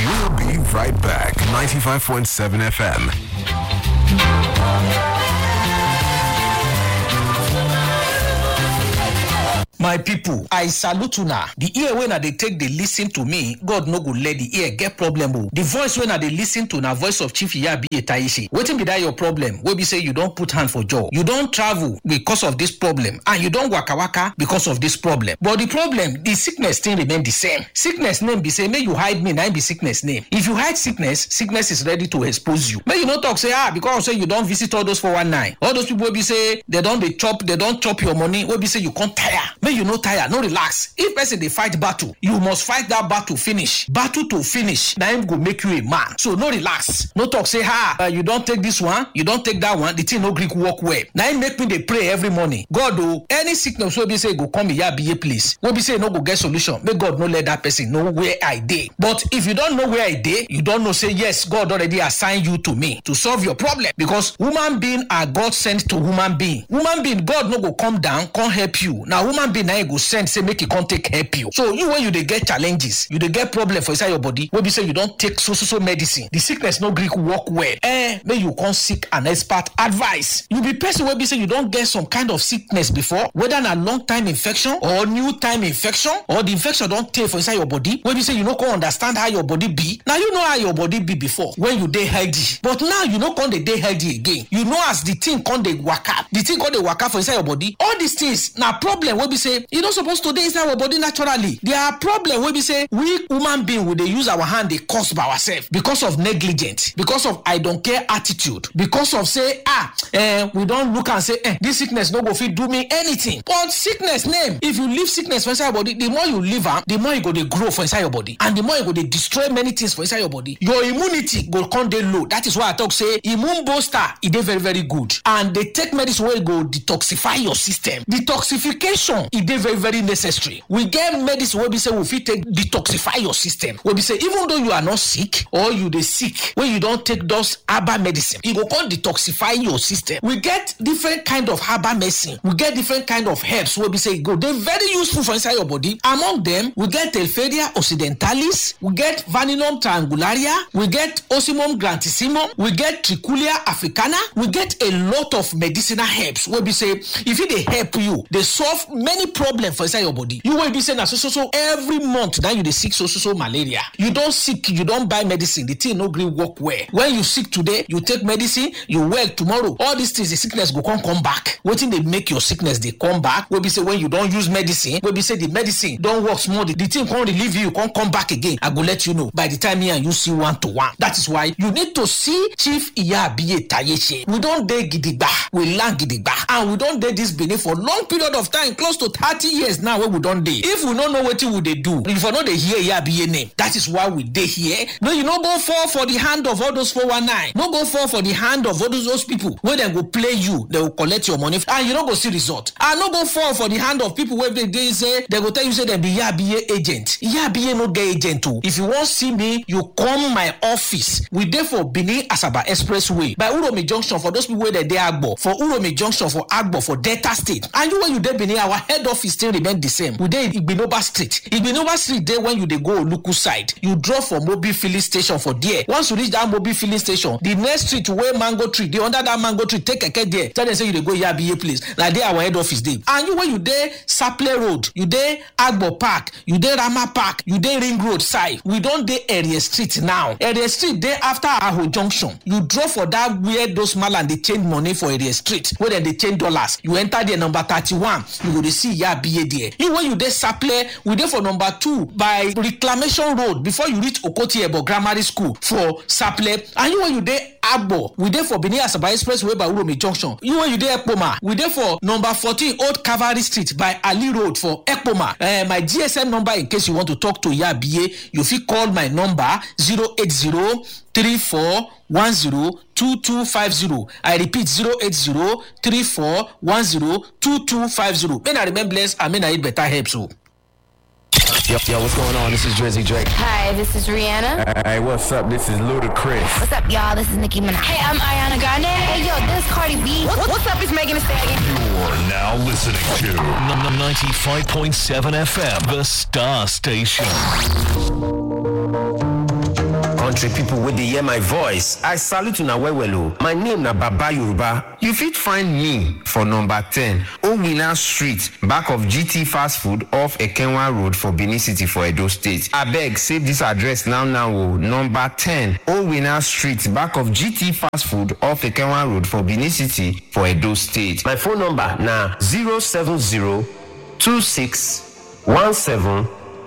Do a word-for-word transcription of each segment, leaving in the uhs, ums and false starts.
We'll be right back. Ninety-five point seven F M. My people, I salute una. The ear wey na dey take dey listen to me, God no go let the ear get problem o. The voice wey na dey listen to na voice of Chief Iyabi Etayishi. Wetin be that your problem? Wey be say you don put hand for jaw. You don travel because of this problem, and you don waka waka because of this problem. But the problem, the sickness still remain the same. Sickness name be say, make you hide me, na im be sickness name. If you hide sickness, sickness is ready to expose you. Make you no talk say, ah, because say you don visit all those four one nine, all those people wey be say they don dey chop, they don chop your money, wey be say you come tire. Make you no tire, no relax. If person dey fight battle, you must fight that battle finish. Battle to finish, na im go make you a man. So no relax. No talk say, ah, uh, you don take this one, you don take that one, the thing no gree work well. Na im make me dey pray every morning. God o, any sickness wey be say e go come Iyabiye place, wey be say e no go get solution, make God no let that person know where I dey. But if you don know where I dey, you don know say yes, God already assign you to me to solve your problem, because human being are God sent to human being. Human being, God no go come down, come help you. Na human being na im go send say make e come take help you. So you, when you dey get challenges, you dey get problem for inside your body, wey be say you don take so so so medicine, the sickness no gree work well. Eh, make you come seek an expert advice. You be person wey be say you don get some kind of sickness before, whether na long time infection or new time infection, or the infection don tey for inside your body, wey be say you no come understand how your body be. Now you know how your body be before when you dey healthy, but now you no come dey dey healthy again. You know as the thing come dey waka, the thing come dey waka for inside your body. All these things na problem wey be say e no suppose to dey inside our body naturally. There are problem wey be say we human being, we dey use our hand dey cause by ourselves because of negligence, because of I don't care attitude, because of say, ah, eh, we don look and say, eh, this sickness no go fit do me anything. But sickness name, if you leave sickness for inside your body, the more you leave am, the more e go dey grow for inside your body, and the more e go dey destroy many things for inside your body. Your immunity go come dey low. That is why I talk say immune booster, e dey very very good, and dey take medicine wey go detoxify your system. Detoxification, e dey very very necessary. We get medicine wey be say we fit take detoxify your system. Wey be say even though you are not sick, or you dey sick, wey you don take those herbal medicine, e go come detoxify your system. We get different kind of herbal medicine. We get different kind of herbs wey be say e go dey very useful for inside your body. Among them, we get Telferia occidentalis, we get Vaninum triangularia, we get Ocimum grantissimum, we get Trichulia africana, we get a lot of medicinal herbs wey be say e fit dey help you dey solve many problems for inside your body. You wey be say na so so so every month na you dey sick so so so malaria. You don sick, you don buy medicine, the thing no gree work well. When you sick today, you take medicine, you well tomorrow. All these things, the sickness go come come back. Wetin dey make your sickness dey come back? Wey be say when you don use medicine, wey be say the medicine don work small, the, the thing come relieve you, come come back again. I go let you know by the time me and you see one to one. That is why you need to see Chief Iyabiye Tayeche. We don dey gidigba, we land gidigba, and we don dey this Benin for long period of time, close to thirty years now wey we don dey. If we no know wetin we dey do, if we no dey hear Iyabiye name, that is why we dey here. No, you no go fall for the hand of all those four one nine. No go fall for the hand of all those, those people wey dem go play you, dem go collect your money, and you no go see result. I no go fall for the hand of people wey dey, dey say, dem go tell you say dem be Iyabiye agent. Iyabiye no get agent o. If you wan see me, you come my office. We dey for Benin Asaba Expressway by Uromi Junction for those people wey dey dey Agbo, for Uromi Junction for Agbo for Delta State. And you wey you dey Benin, our head office still remain the same. We dey Igbinoba Street. Igbinoba Street dey when you dey go Oluku side. You drop for Mobil filling station for there. Once you reach that Mobil filling station, the next street wey mango tree dey, under that mango tree, take keke there. Tell them say you dey go Iyabiye place. Na there our head office dey. And you wey you dey Saple Road, you dey Agbo Park, you dey Rama Park, you dey Ring Road side. We don dey Area Street now. Area Street dey after Aho Junction. You drop for that where those malam dey change money for Area Street, where dem dey change dollars. You enter there, number thirty-one. You go dey see Iyabiye there. You wey you dey Saple, we dey for number two by Reclamation Road before you reach Okoti Ebo Grammar School for Saple. And you wey you dey Agbo, we dey for Benin Asaba Expressway by Uromi Junction. You wey you dey Ekpoma, we dey for number fourteen Old Cavalry Street by Ali Road for Ekpoma. Eh, my G S M number in case you want to talk to Iyabiye, you fit call my number zero eight zero three four one zero two two five zero. I repeat, zero eight zero three four one zero two two five zero. May na remain blessed and may na eat better herbs o. Yo, yo, what's going on? This is Drizzy Drake. Hi, this is Rihanna. Hey, what's up? This is Ludacris. What's up, y'all? This is Nicki Minaj. Hey, I'm Ariana Grande. Hey, yo, this Cardi B. What, what's up? It's Megan Thee Stallion. You're now listening to n- n- ninety-five point seven F M, the Star Station. Say people wey dey hear my voice, I salute una well well o. My name na Baba Yoruba. You fit find me for number ten Owina Street, back of G T Fast Food off Ekenwa Road for Benin City for Edo State. Abeg, save this address now now o. Number ten Owina Street, back of G T Fast Food off Ekenwa Road for Benin City for Edo State. My phone number na zero seven zero two six one seven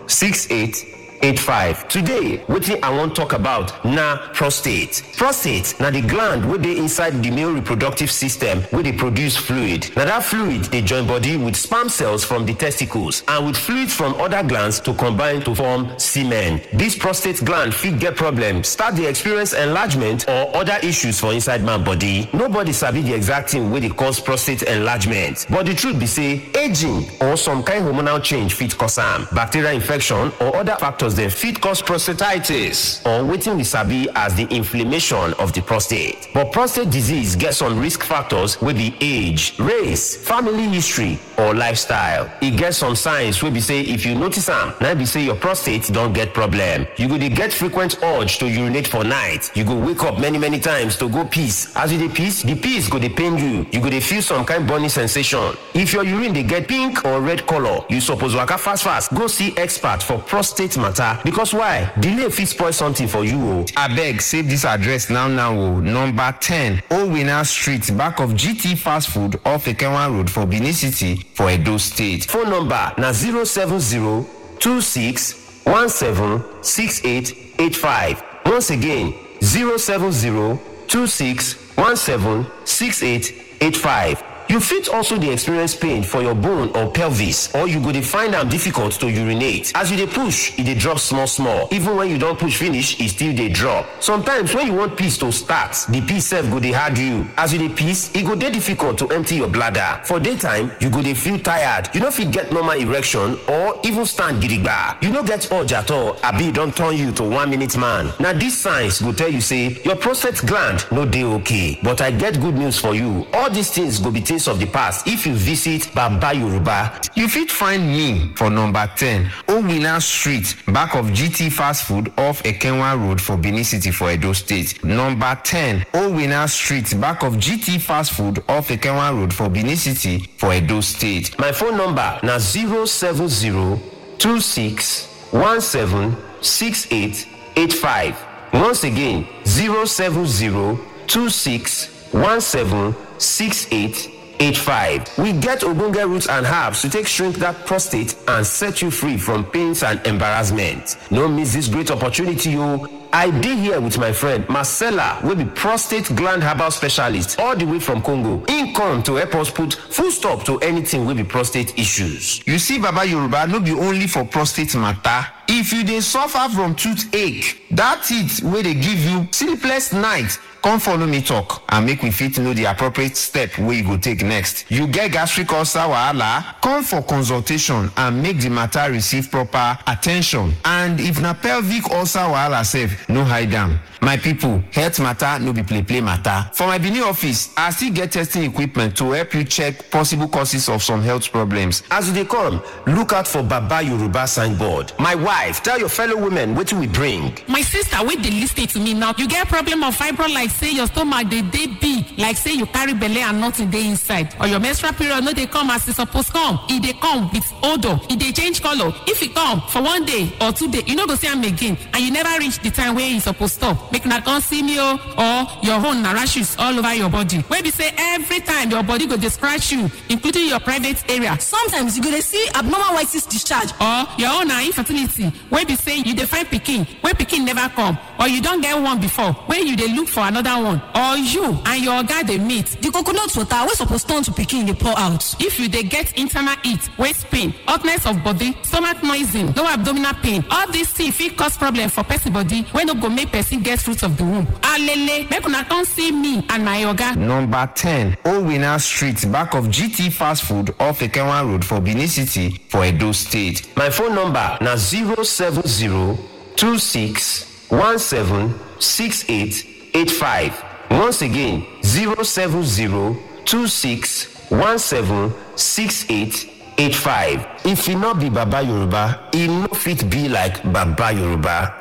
six eight eight five. Today, wetin I wan talk about na prostate. Prostate na the gland wey dey inside the male reproductive system wey dey produce fluid. Na that fluid dey join body with sperm cells from the testicles and with fluids from other glands to combine to form semen. This prostate gland fit get problem, start dey experience enlargement or other issues for inside man body. Nobody sabi the exact thing wey dey cause prostate enlargement, but the truth be say aging or some kind hormonal change fit cause am. Bacterial infection or other factors dem fit cause prostatitis, or wetin we sabi as the inflammation of the prostate. But prostate disease get some risk factors wey be age, race, family history, or lifestyle. E get some signs wey be say if you notice am, na be say your prostate don get problem. You go dey get frequent urge to urinate for night. You go wake up many many times to go piss. As you dey piss, the piss go dey pain you. You go dey feel some kind burning sensation. If your urine dey get pink or red color, you suppose waka fast fast go see expert for prostate matter, because why? Delay fit spoil something for you o. Abeg, save this address now now o. Number ten Owina Street, back of G T Fast Food off Ekenwa Road for Benin City for Edo State. Phone number na zero seven zero two six one seven six eight eight five. Once again, zero seven zero two six one seven six eight eight five. You fit also dey experience pain for your bone or pelvis, or you go dey find am difficult to urinate. As you dey push, e dey drop small small. Even when you don push finish, e still dey drop. Sometimes when you want piss to start, the piss sef go dey hard you. As you dey piss, e go dey difficult to empty your bladder. For daytime, you go dey feel tired. You no fit get normal erection or even stand gidigba. You no get urge at all, abi e don turn you to one minute man. Na these signs go tell you say your prostate gland no dey okay. But I get good news for you. All these things go be things of the past if you visit Baba Yoruba. You fit find me for number ten Owina Street, back of G T Fast Food off Ekenwa Road for Benin City for Edo State. Number ten Owina Street, back of G T Fast Food off Ekenwa Road for Benin City for Edo State. My phone number na zero seven zero two six one seven six eight eight five. Once again, zero seven zero two six one seven six eight eight five. We get ogbonge roots and herbs to take shrink that prostate and set you free from pains and embarrassment. No miss this great opportunity o. I dey here with my friend Marcella, wey be prostate gland herbal specialist all the way from Congo. Im come to help us put full stop to anything wey be prostate issues. You see, Baba Yoruba no be only for prostate matter. If you dey suffer from toothache, that teeth wey dey give you sleepless night, come follow me talk and make we fit know the appropriate step wey you go take next. You get gastric ulcer wahala, come for consultation and make the matter receive proper attention. And if na pelvic ulcer wahala sef, no hide am. My people, health matter no be play play matter. For my Benin office, I still get testing equipment to help you check possible causes of some health problems. As you dey come, look out for Baba Yoruba signboard. My wife, tell your fellow women wetin we bring. My sister wey dey lis ten to me now, you get problem of fibro, like say your stomach dey dey big, like say you carry belle and nothing dey inside, or your menstrual period no dey come as e suppose come, e dey come with odour, e dey change colour. If e come for one day or two day, you no go see am again, and you never reach the time wey e suppose stop. Make una come see me o. Or your own na rashes all over your body, wey be say every time your body go dey scratch you, including your private area. Sometimes you go dey see abnormal white cyst discharge. Or your own na infertility, wey be say you dey find pikin, wey pikin never come, or you don get one before, wey you dey look for another one, or you and your oga dey meet. The coconut water wey suppose turn to pikin dey pour out. If you dey get internal heat, waist pain, hotness of body, stomach noising, low abdominal pain, all these things fit cause problem for person body wey no go make person get fruit of the womb. Alele, make una come see me and my oga. Number ten, Owina Street, back of G T Fast Food off Ekenwa Road for Benin City for Edo State. My phone number na zero seven zero two six one seven six eight eight five. Once again, zero seven zero two six one seven six eight eight five. If e no be Baba Yoruba, e no fit be like Baba Yoruba.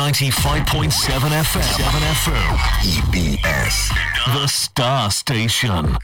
ninety-five point seven F M. seven F M. E B S. The Star Station.